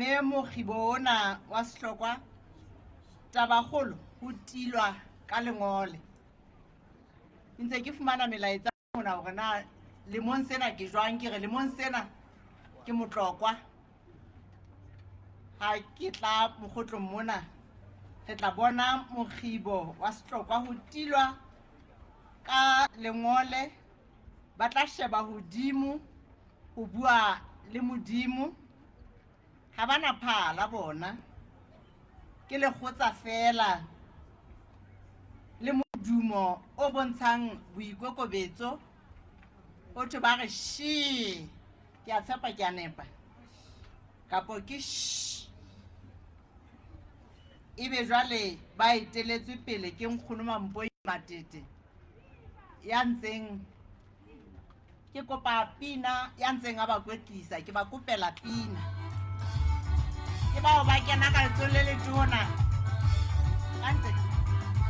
Mme mokgibo ona wa sehlokwa, tabakgolo ho tilwa ka lengole. Ke ntse ke fumana melaetsa mona hore na lemong sena ke jwang, ke re lemong sena ke motlokwa. Ha ke tla mokgotlong mona, re tla bona mokgibo wa sehlokwa ho tilwa ka lengole. Ba tla sheba hodimo ho bua le Modimo. Ha ba na phala bona, ke lekgotsa feela le modumo o bontshang boikokobetso. Ho thwe ba re shee, ke a tshepa ke a nepa, kapo ke shh. Ebe jwale ba eteletswe pele ke Nkgono Mampoi Matete ya ntseng ke kopa pina, ya ntseng a ba kwetlisa, ke ba kopela pina. Ke bao ba kena ka letsohong le letona.